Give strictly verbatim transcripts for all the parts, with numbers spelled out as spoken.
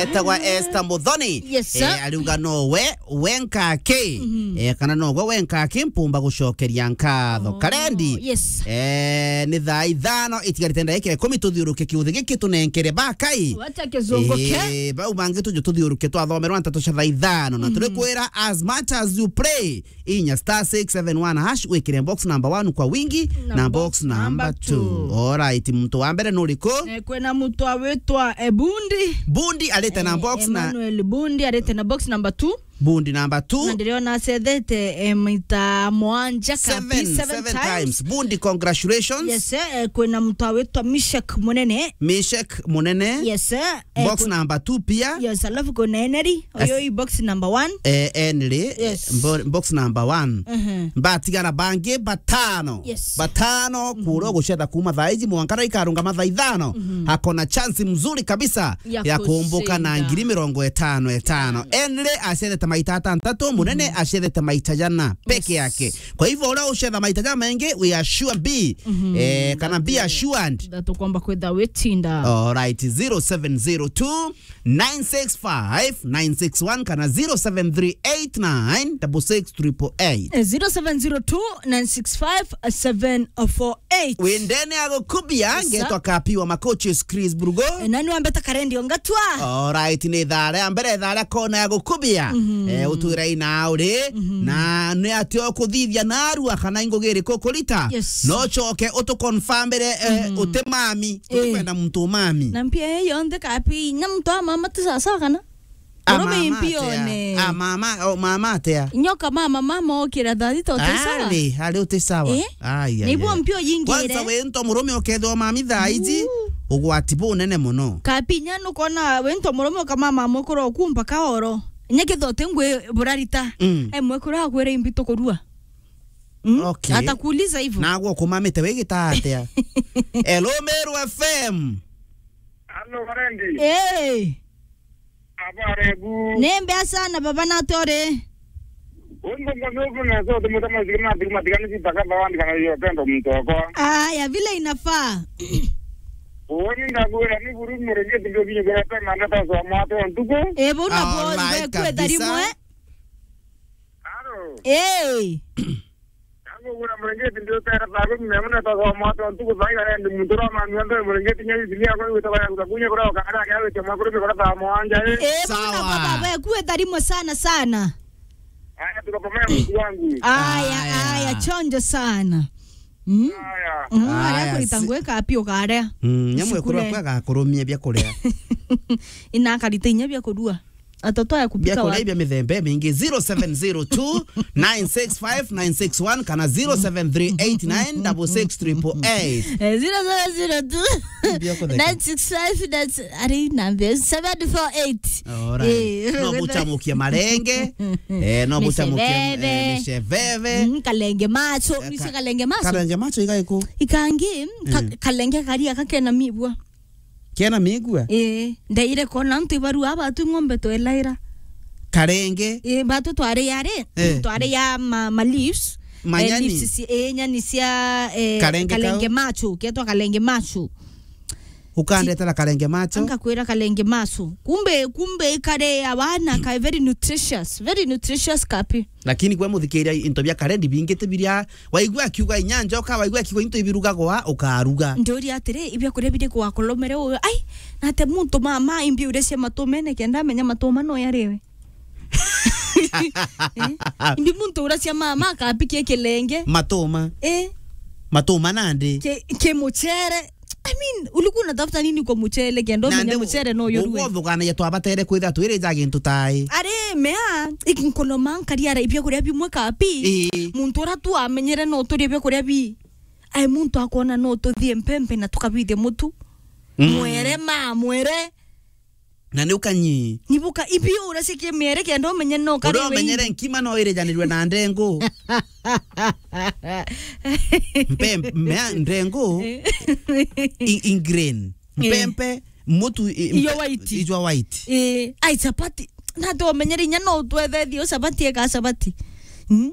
Etagwa Esther Muthoni. Yes, sir. Eh, ariuga no we, we nkaki. Mhm. Eh, kana no we, we nkaki mpumba gucokeria nkatho. Oh, Karendi. Yes. Eh, ni thaa ithano itigarite ndagika ikumi tuthiuruke kiuthi giki tunenkere bakai. Wacha kizunguke. Eh, bau bangi tuju tuthiuruke twathomerwa nteto cia thaa ithano. Na turikwira, as much as you pray, inya star six seven one hash, wikire box number one kwa wingi, na box number two. Alright, muntu wa mbere nuriku? Eh, kwina muntu awitwa, eh, Bundi. Bundi arite na, eh, box na Emmanuel Bundi arite na box number two. Bundi number two. Na ndiriona acethete, eh, maita mwanja, kapi, seven, seven times. Bundi, congratulations. Yes, eh, kwina muntu awitwa Mishek Munene. Mishek Munene. Yes, eh. Eh, box number two pia. Yes, alafu kuna Henry. As- Oyo i box number one. Eh, Henry, yes, bo-, box number one. Mhm. Batigara bangi batano. Yes. Batano, mhm, kuria gucetha kuma thaa iji mwanka na ikarunga mathaa ithano. Mhm. Hakona chance mzuri kabisa ya, ya kumbuka na kusinda ngiri mirongo itano itano. Itano. Henry acethete maita atantatu, Munene, mhm, acethete maita jana peke, yes, yake. Kwa hivyo, uria ucetha maita jamaingi, we are sure B, mhm, eh, kana be assured that ukwamba kwitha witinda. Alright, zero seven zero two, nine six five, nine six one kana zero seven three eight nine double six triple eight. Eh, zero seven zero two, nine six five, seven four eight. Windene ya gukubia, yes, sir, ngetwa Kapi wa Makochi, Chris Brugo. Eh, nani wambeta Karendi Ongatwa? Alright, ni thaa ria mbere, thaa ria kona ya gukubia. Mhm. Eh, utwira ina uri, mhm, na ni atia ukuthithia narua kana ingugi iriku ukurita? Yes. No ucoke utuconfirmire, eh, mhm, uti mami. Eh. Utikwenda muntu umami. Na mpia iyo yonthe Kapi, inya muntu wa mama ti sawa sawa kana? A, murume mama mpio atia? Ne. A, mama, o, mama atia? Nyoka mama, mama okira thaa thita uti sawa? Ari, ari uti sawa. Eh? Ai, ai, niguo ai, mpio yingire. Kwanza we nto murume ukethwa mami thaa iji, uu, ugwati bunene muno. Kapi inya nukona we nto murume ukamama mukuru oku mpaka oro. Inya kethwa uti ngwi burarita. Mm. E mwekuru akwira imbi tukurua. Mm? Okay. Atakuuliza hivyo. Nagwe ukumamite wi gita atia? Hello, Meru F M. Hello, Karendi. Eh. Habari bu? Ni mbea sana, baba, nati uri? Ungo ngo no kuna so tu mutama zikima zikima zikani zitaka bawandi kana yo pendo mtoko. Aya, vile inafaa. Uoni ndagwira ni buru murengeti ndio binyo kwa pema ndata so mwato ntuko. Eh, bona bo, alright, kwetha kabisa. Rimwe. Halo. Eh. Yangu kuna murengeti ndio tera bago mimi mna tata wa mwato ntuko thaiga ndi muntu ro manu ndo murengeti nya isi ya kwa wita kwa kuta kunya kwa ka ara ya wita makuru kwa ta mwanja, eh. Eh, bona, sawa, baba, we kwetha rimwe sana sana. Aya, tuko pamoja mtu wangu. Aya, aya, aya, chonjo sana. Mm. Aya. Mm, aya, aya, kurita si- ngwe Kapi ukarea. Mm, nyamwe kurwa kwa gakurumia bia kuria. Ina akarita inya bia kurua. Atoto ya kupika bia kuria wapi? Bia mithemba mingi. Zero seven zero two, nine six five, nine six one kana zero seven three eight nine double six triple eight. Eh, zero seven zero two, bia kutheka, nine six five, that's, ari namba seven four eight. Alright. Eh, no buchamukia marenge. Eh, no buchamukia, eh, micebebe. Micebebe. Mm, kalenge macho. Eh, nise ka-, kalenge macho. Kalenge macho igaiku. Ikangi, ka-, mm, kalenge karia kakena mibua. Kena migua? Eh, ndaire kona ntu ibaru aba tu ng'ombe twelaira. Karenge? Eh, batu twari yari, eh, twari ya ma, ma leaves. Manyani? Eh, leaves si, eh, nyani cia, eh, kalenge kau? Kalenge macho, ketwa kalenge macho. Ukandetera karenge macho? Angakwira kalenge macho. Kumbe, kumbe kare abana ka very nutritious, very nutritious Kapi. Lakini kwe muthikiria into bia karendi bingite biria waigua akiuga inya njoka, waigua akiuga into ibirugagwa, ukaruga. Ndoria atiri, ibia kuria biri kwa kolomere uyo. Ai, nate muntu mama imbi uria cia matumene kenda menya matuma no yariwe. Eh? Imbi muntu uria cia mama akapikia kilenge. Matuma? Eh. Matuma nandi? Ki, ki muchere. I mean, ulikuwa unatafuta nini kwa muchere kenda umenye muchere no yurue? Uguo thuganagia twabatere kwithira twirija gintu tai. Ari mea, ikinkono mankari ara ibia kuria bimwe Kapi. Ii. Muntu ura tu amenyere no turie bia kuria bi. Ai muntu akona no tuthie mpempe na tukabithia mutu. Mm. Mwere ma, mwere. Na ni ukanyi. Nibuka, ibi ura cikie miere kenda umenye no kari. Ura umenyere nkima no irijanirwe na ndengu. Mpe-, mea ndengu. I-, in grain. Eh. Mpempe, mutu, i-, iyo mpe-, white. Ijwa white. Eh, ai chapati. Na tu umenyere inya no twethethie chapati eka chapati. Hmm?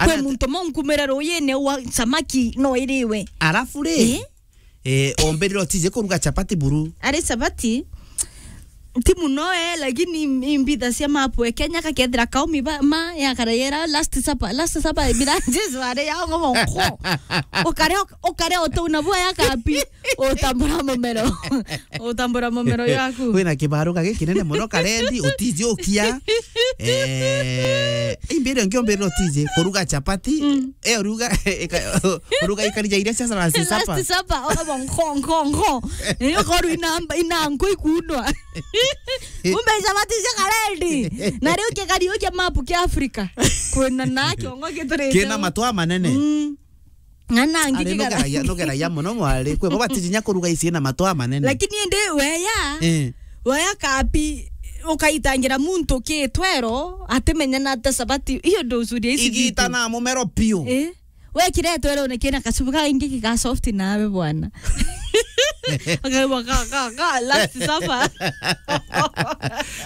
Kwe muntu mo nkumire ruyine wa samaki no iriwe. Arafu ri? Eh? Eh, ombirire otije kuruga chapati buru. Ari chapati? Ti muno, eh, lakini im-, imbitha cia mapu e Kenya kakethira kaumi ba, ma, ya karayera last supper, last supper, bila Jesu are ya ngomo nko. Ukare, ukare uto unabua ya kapi, utambura mumero. Utambura mumero yaku. Wina kibaruka gikinene muno karendi, utijukia. Eh, imbire ngiombire utije, kuruga chapati, mm, eh, uruga, ika-, uruga ikarija iria cia last supper. Last supper, ukabo nko, nko, nko. Eh, ukoru inamba, inanko ikundwa. Kumbe icabati cia karendi. Na riu kigari ukia mapu kia Afrika. Kwina na kiongo giturite. Kina matwa manene. Mm. Ng'ana ngi ari kigara. Nugeragia, nugeragia muno mwari. Kwi bo batijinya kuruga ici na matwa manene. Lakini indi weya, eh, weya kapi, ukaitangira muntu kitwero, atimenya na ata sabati. Iyo nducuria ici igita na mumero piu. Eh? Wekire etwerone kina kacubu kaingi giga soft nawe bwana. Akaigua ka, ka, ka, last supper.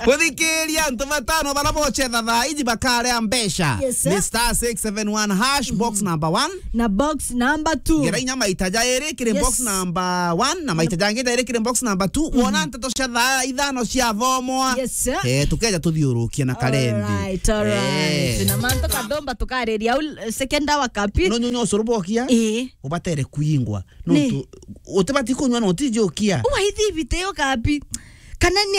Guthikiria antu batano bara bocetha thaa iji bakarea mbeca. Yes, sir. Ni star six seven one hash, box number one. Na box number two. Ngera inya maita jairi kiri, yes, box number one, na maita jangi jairi kiri box number two. Mhm. Wona nteto cia thaa ithano cia thomwa. Yes, sir. Eh, tukeja tuthiurukia na karendi. Alright, alright. Eh. Na mantu kadomba tukariria au, second hour kapi. No nyunyo ucuru bokia. Eh. Ubatere kuingwa. Ni. Nontu utibati kunywa na utijukia. Uwa ithi ibite yo kapi. Kana ni